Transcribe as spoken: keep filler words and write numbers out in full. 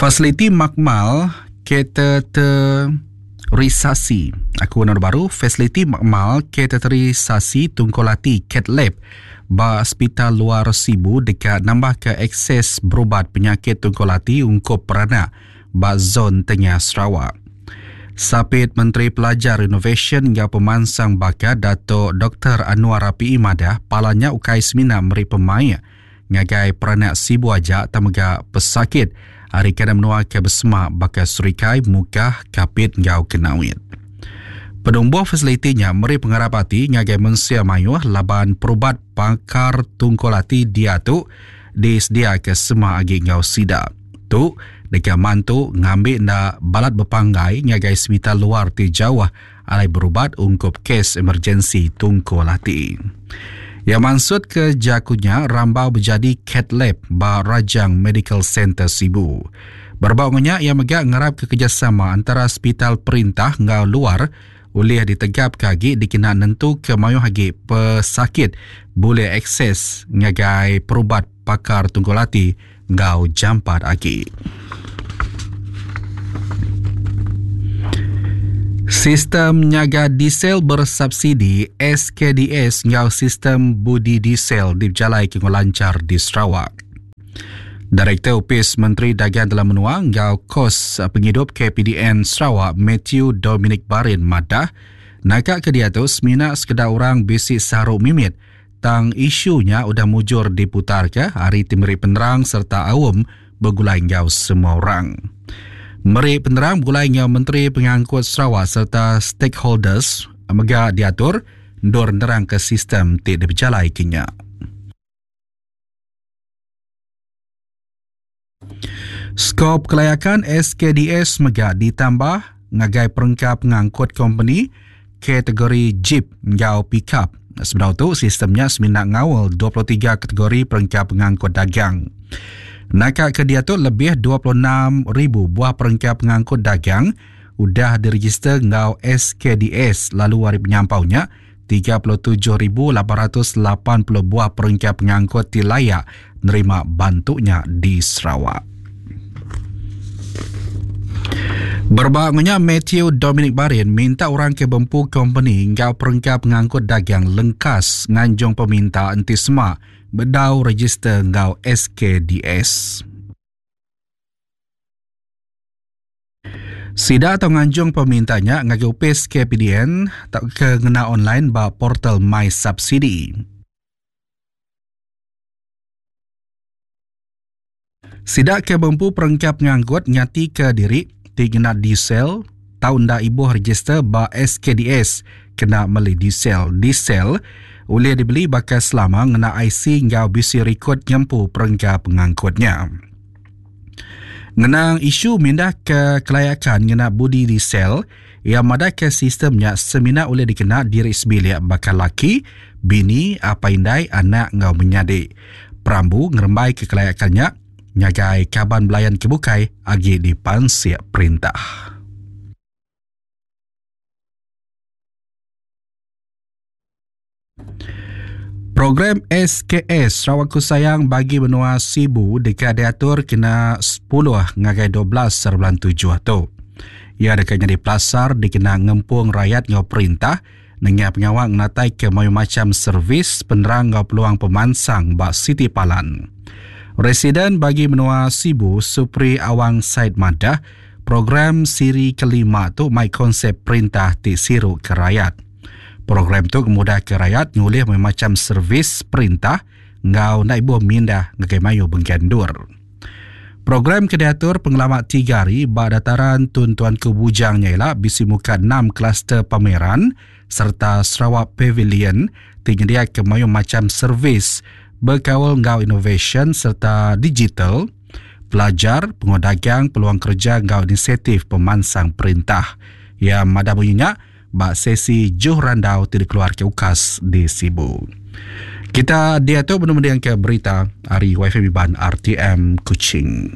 Fasiliti makmal kateterisasi. Aku nama baru, fasiliti makmal kateterisasi Tungkul Ati Cath Lab ba Hospital Luar Sibu dekat nambah ke akses berubat penyakit tungkul ati ungkup peranak ba zon tengah Sarawak. Sapit Menteri Pelajar Inovasyen hingga Pemansang Bakat Dato' Doktor Annuar Rapaee madah palanya ukai semina meri pemaik ngagai peranak Sibu aja tamega pesakit hari kena menua ke besemak bakal Serikai, Mukah, Kapit ngau Kenawit. Penumbuh fasilitinya meri pengharap hati ngagai mensia mayuh laban perubat pakar tungkul ati dia tu disedia ke semua agi ngau sida. Tu dekat mantu ngambil na balat berpanggai ngagai sepital luar ti jauh alai berubat ungkup kes emergensi tungkul ati. Yang maksud ke jakunya rambau berjadi Cath Lab ba Rajang Medical Center Sibu. Berbau ngenyak ia megak ngarap ke kerjasama antara hospital perintah ngau luar oleh ditegap kagi dikena nentu ke mayuh agi pesakit boleh akses ngagai perubat pakar tungkul ati ngau jampat agi. Sistem nyaga diesel bersubsidi S K D S ngau sistem budi diesel dijalai ke lancar di Sarawak. Direktur Opis Menteri Dagang Dalam Menua ngau Kos Penghidup K P D N Sarawak Matthew Dominic Barin madah nakak ke dia tu semina sekedar orang bisi saruk mimit tang isunya udah mujur diputar ke hari timeri penerang serta awam bergulai ngau semua orang. Meri penerang bergulai ngau Menteri Pengangkut Sarawak serta stakeholders mega diatur ndur nerang ke sistem ti dipejalai kenya. Skop kelayakan S K D S mega ditambah ngagai perengka pengangkut company kategori Jeep ngau pickup. Sebenar tu sistemnya semina ngawal dua puluh tiga kategori perengka pengangkut dagang. Nakak ke dia tu lebih dua puluh enam ribu buah perengka pengangkut dagang udah diregister ngau S K D S lalu hari penyampaunya tiga puluh tujuh ribu lapan ratus lapan puluh buah perengka pengangkut ti layak nerima bantunya di Sarawak. Berbangnya Matthew Dominic Barin minta orang ke bempu company ngau perengka pengangkut dagang lengkas nganjung peminta enti semak bedau register ngau S K D S. Sida atau nganjung pemintanya ngagai U P S K P D N tak ke ngena online ba portal My Subsidy. Sida ke bempu perengka pengangkut nyati ke diri ti ngena diesel tau nda ibuh register ba S K D S kena meli diesel. Diesel boleh dibeli bakal selama ngena I C ngau B C record nyempu perengka pengangkutnya. Ngenang isu mindah ke kelayakan ngena budi diesel yang madah ke sistemnya semina boleh dikena diri sebilik bakal laki, bini, apa indai, anak ngau menyadik. Perambu ngerembai ke kelayakannya nyagai kaban belayan kebukai agi dipansiak perintah. Program S K S Sarawakku Sayang bagi benua Sibu dekat diatur kena sepuluh ngagai dua belas bulan tujuh tu. Ia dekat jadi pelasar dikena ngempung rakyat ngau perintah dengan pengawal ngatai ke mayu macam servis penerang ngau peluang pemansang bak City Palan. Residen bagi benua Sibu Supri Awang Said Madah program siri kelima tu mai konsep perintah ti siru ke rakyat. Program tu kemudah ke rakyat ngulih macam servis perintah ngau naik buah mindah ngagai mayu benggandur. Program kediatur pengelamat tiga hari ba dataran Tun Tuanku Bujang nyaila bisi muka enam kluster pameran serta Sarawak Pavilion ti nyedia ke mayu macam servis berkawal ngau innovation serta digital, pelajar, pengodagang, peluang kerja ngau inisiatif pemansang perintah. Yang madah bunyinya bak sesi Juh Randau tidak keluar ke UKAS di Sibu. Kita dia tu benar-benar ke berita hari Y F M Iban R T M Kuching.